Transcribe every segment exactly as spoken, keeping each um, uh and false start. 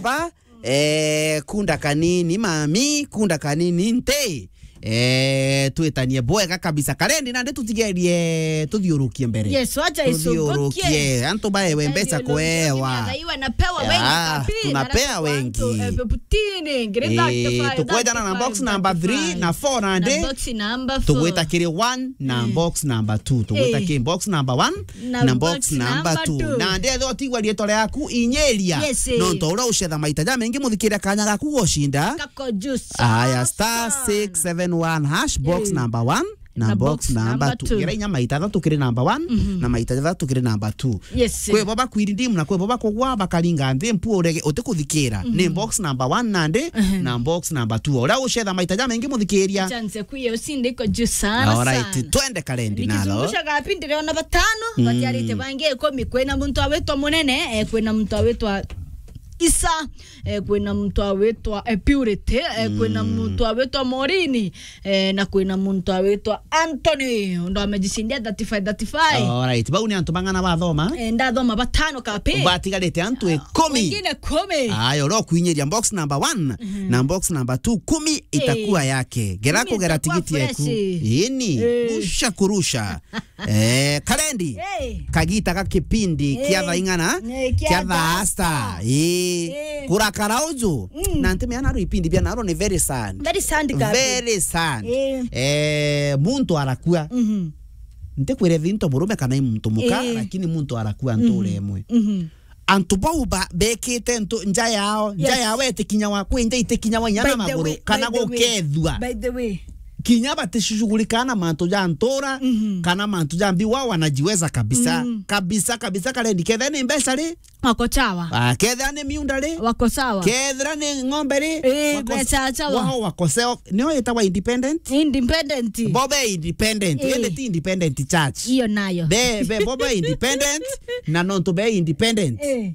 Ba, eh, kunda kanini, mami, kunda kanini, nte. Eh, twitanie bwega kabisa. Karendi, nandi tutigerie tuthiurukie mbere. Yes, wacha isongokie. Tuthiurukie. Antu baewe mbeca kuewa. Thaiwa napewa wengi. Ah, kapi, tunapea wengi. Eh, fifteen, ngiri thirty-five, tukwejana na box number three na four nandi. Na box number four. Tugwita kiri one na box number two. Tugwita kiri box number one na box number two. Na ndethi otigwa rietwa riaku inyeria. Yes, eh. Nontu uria ucetha maita jamaingi, muthikiria kanya gaku gushinda. Kako juu sana. Aya, star six seven one hash, box number one na box number two. Gera inya maita jathatu kiri number one, na maita jathatu kiri number two. Yes, eh. Kwi bo bakwiri ndimu na kwi bo bakugwa bakaringa nthi mpu urege utikuthikira. Ni box number one nandi, na box number two. Uria ucetha maita jamaingi muthikiria. Chance kuye usinde iko juu sana. Alright, twende Karendi nalo. Nikizungusha gapi ndiriona batano, batiarite bangi ikumi. Kwina muntu awitwa Munene, eh, kwina muntu awitwa Isa, eh, kwina muntu awitwa, eh, Purity, eh, kwina muntu awitwa Morini, eh, na kwina muntu awitwa Anthony, ndo amejicindia thirty-five, thirty-five. Alright, bau ni antu bang'ana bathoma? Eh, ndathoma batano kapi. Batigarite antu ikumi. Wengine kumi. Aya, uria ukuinyiria box number one na box number two, kumi itakuwa yake. Gera kugera tigiti eku. Ini, rusha kurusha. Eh, Karendi. Kagita ga kipindi kia thaa ing'ana, kia thaa star. Eh, kurakara uju. Na ntimeana ru ipindi bia naro ni very sad. Very sad, kapi. Very sad. Eh, muntu arakua. Ntikwire thinto murume kana i muntu muka, lakini muntu arakua nture imwe. Antu bau ba-, bekite ntu-, nja yao, nja yao itikinyawa, kwi nja itikinyawa inya na maguru, kana gukethua. By the way. Kinya batishughulika na mantu ja ntura, kana mantu ja mbi, wao wanajiweza kabisa. Kabisa, kabisa, Karendi. Kethira ni mbeca ri? Wako sawa. Ah, kethira ni miunda ri? Wako sawa. Kethira ni ng'ombe ri? Eh, wako sa-, wako sawa. Wao wako sawa. Nio itagwa independent? Independent. Bo be independent. Eh. Indi ti independent church. Iyo nayo. Be, be, bo be independent, na nontu be independent. Eh.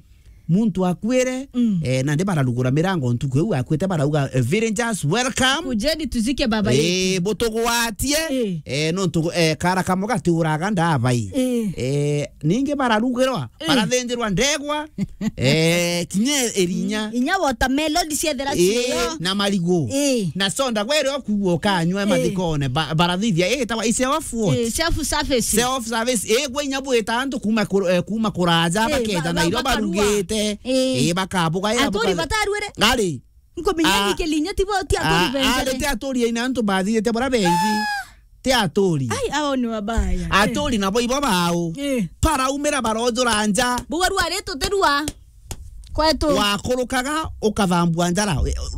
Muntu akuire, eh, nandi bararugura mirango ntuku iu akuite, barauga, eh, "Villagers, welcome. Kujeni tuzike baba yetu." Eh, butugwatie. Eh. Eh, nontu, eh, kara kamwe gatiuraga ndabai. Eh. Eh, ningi bararugirwa, barathinjirwa ndegwa, eh, kinya irinya. Inya watermelon ciethera cio. Na marigu. Eh. Na soda gwe ri okugua ukanywa mathikone, ba-, barathithia, eh, itawa i self what? Eh, self service. Self service. Eh, gwe inya bwita antu kuma kur-, eh, kuma kuraja, eh, bakeja ba-, Nairobi bakarua. Barugite. Eh. Eh, bakabuga, eh, aturi batarue ri? Ari. Nkumenya ni kilinya ti bo, ti aturi benzere. Ari ti aturi ina antu bathithite bara bengi. Ti aturi. Ai, abo ni wabaya. Aturi nabo ibo bao. Eh. Baraumira barojura nja. Buga rua ri tutirua. Kwetu. Wakurukaga, ukathambua njara.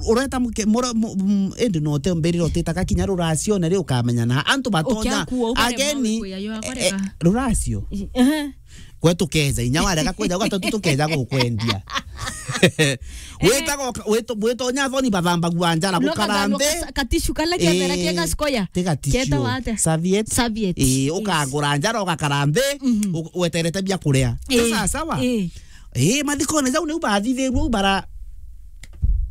Ureta muke-, mura-, mu-, mu-, indi no te mbirire utitaga kinya ruracio, na ri ukamenya na antu batonya. Ageni, eh, ruracio. Ehe. Gwe tukeja, inya warega kweja, gwatatu tukeja gukwendia. Witaga uka-, witu-, witonya thoni bathambagua njara, gukara nthi. Katishu kala kiathera kiega sikoya. Ti gatishu. Kietawa atia? Serviette. Serviette. Ii, ukagura njara, ugakara nthi, u-, weterete bia kuria. Ii. Sawa, sawa? Ii. Ii, mathikone jau niu bathithirue u bara.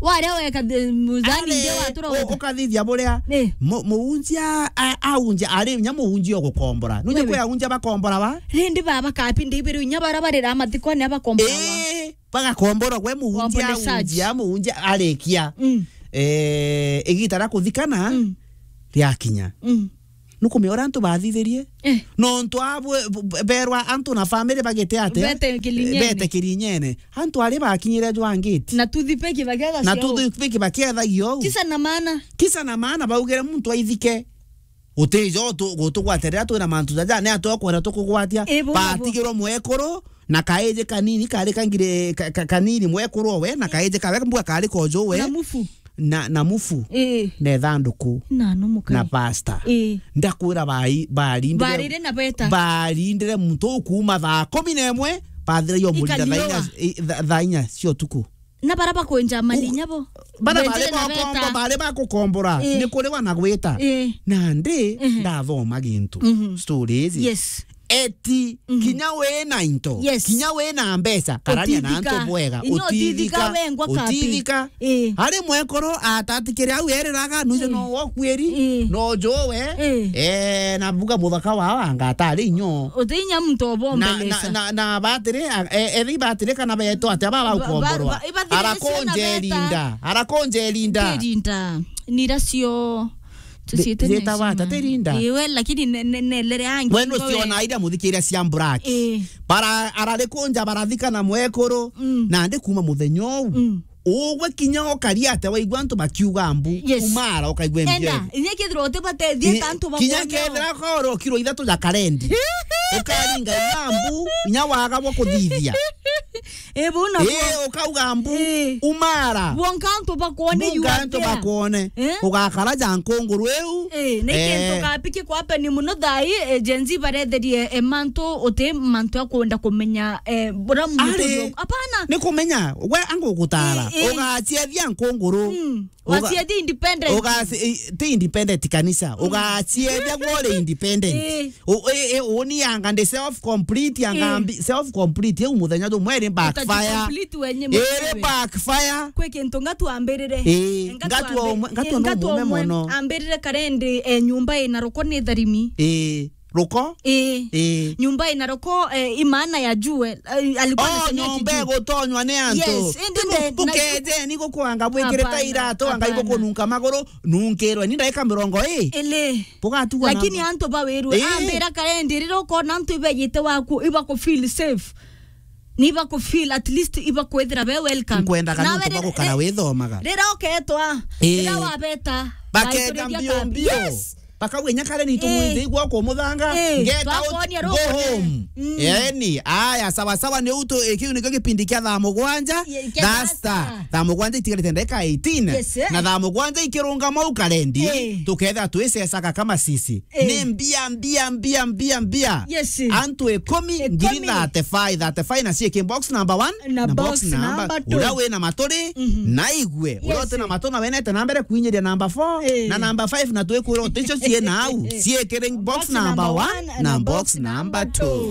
Waria weka the-, muzani ndio watura u-, ukathithia buria. Ii. Mu-, muunjia a-, aunjia, ari nya muunjia ugukombora. Nunye kwi aunjia bakombora ba? Rindi baba kapi ndibiri inya bara barira mathikone abakombora ba? Ii, bagakombora gwe muunjia aunjia, muunjia arikia. Mm. Eh, igita ria kuthikana riakinya. Mm. Nukumia uria antu bathithirie? Eh. Nontu abwe, b-, b-, berwa antu na family bagite atia? Bete kirinyene. Bete kirinyene. Antu ari bakinyire jwa ngiti. Na toothpick bakietha. Na toothpick bakiethagia ou. Kisa na maana. Kisa na maana baugire muntu aithike. Utijo tu-, gutugwatirira twina mantu jaja, ni atia ukwenda tukugwatia? Batigirwo mwekuru, na kaiji kanini kari kangire, ka-, ka-, kanini mwekuru owe, na kaiji kawe mbua kari kojo we. Na mufu. Na, na mufu. Ii. Na ithanduku. Na no mukai. Na pasta. Ii. Ndakwira bai-, barindire. Barire na beta. Barindire muntu kuuma thaa kumi na imwe, bathira yo murira thaa inya, i-, tha-, thaa inya cia utuku. Na bara bakwenja mali nyabo. Bara bari bakombo-, bari bakukombora, ii, ni kuriwa na gwita. Ii. Nandi, mhm, ndathoma gintu. Mhm. Stories. Yes. Eti, mhm, kinya wina into, yes, kinya wina mbeca, karania na antu bwega, utithika, utithika, wengwa kapi, utithika. Eh. Ari mwekuru atatikire au eriraga, nuijo, eh, no wokuiri, eh, no jowe, eh, eh, na buga muthaka wao anga atari inyo. Utinya muntu obombelesa. Na, na, na, na batiri, a-, e-, ethi batiri kana beto atia baba, ba-, ba-, ukomborwa. Ba-, ibathirire ciana beta. Arakonje linda, arakonje linda. Tirinda. Nira cio. Tuciite zita necio wata, ma. Tirinda. Iwe, lakini ne, ne, ne, lere angi. We nuciona iria muthikiria cia Black. Eh. Bara, ararikunja barathika na mwekuru, mm, na ndi kuma muthenya uu. Mm. Ugwe kinya ukari atia waigua antu bakiuga mbu, yes, umara ukaigua mbu. Enda, inya kethira utibate, thieta antu bakwone. Kinya kethira koro kiro ithatu ja karendi. Ukaringa inya mbu, inya waga bwa kuthithia. Eh, buna. Eh, ukauga mbu, eh, umara. Bwonka antu bakwone. Bwonka antu bakwone. Eh? Ugakara ja nkunguru iu. Eh, ni kintu, eh, kapi kikwapeni muno thai, eh, Gen Z baretherie, eh, mantu, uti mantu ya kwenda kumenya, eh, bura muntu ari, yo-, apana. Ni kumenya, we angugutara. Eh, eh. Ugaciethia nkunguru. Mm. Uga-, waciethia independent. Ugaci-, i-, ti independent kanisa. Mm. Ugaciethia gwe uri independent. Eh. U-, e-, e-, uni anga ndi self complete, anga, eh, mbi-, self complete, eu muthenya jumwe ri backfire. Utaji-complete wenye mwenyewe. Iri backfire. Kwi kintu ngatu ambirire. Ii, ngatu ambi-, ngatu no ngatu mume amwe mono. Ambirire karendi, eh, nyumba ina ruko ni tharimi. Ii, ruko? Ii. Ii. Nyumba ina ruko, eh, imaana ya jue, eh, alikuwa anasema nyumba eti jue. Igutonywa ni antu. Yes, indi bu-, nde-, na bukejeni gukwanga bwikirite iratu, anga, hapana, hapana, ibukununka maguru, nunkirwe ni ndaika mirongo ii. Ili. Bugatigwa na. Lakini antu bawirwe, ii, ambira karendi, rira ukona antu ibejite waku, ibaku feel safe. Ni ibaku feel, at least ibakwithira be welcome. Nkwendaga nawe nontu bagukara withomaga. Rira uketwa, ii, rira wabeta, bakenda mbio mbio. Yes. Bakauga, "Inya kare nitu, ii, mwithe igwa kumuthanga, ii, ngeta twakonia go home." Mm. Yaani, aya, sawa sawa, ni utu, eh, kiu nikio kipindi kia thaa mugwanja. Ye-, kia thaa sita. Thaa sita. Thaa mugwanja itigarite ndagika eighteen. Yes, eh. Na thaa mugwanja ikirungama u karendi, ii, tukethira twicecaga kama sisi. Ii. Ni mbia, mbia, mbia, mbia, mbia. Yes. Antu ikumi, ikumi, ngiri thirty-five, thirty-five na ciiki box number one, na box number two. Uria wina maturi, mhm, na igue. Uria uti na matu na wenete na mbere kuinyiria number four, ii, na number five, na twikwira uti cio cii na au. Ciikire box number one na box number two.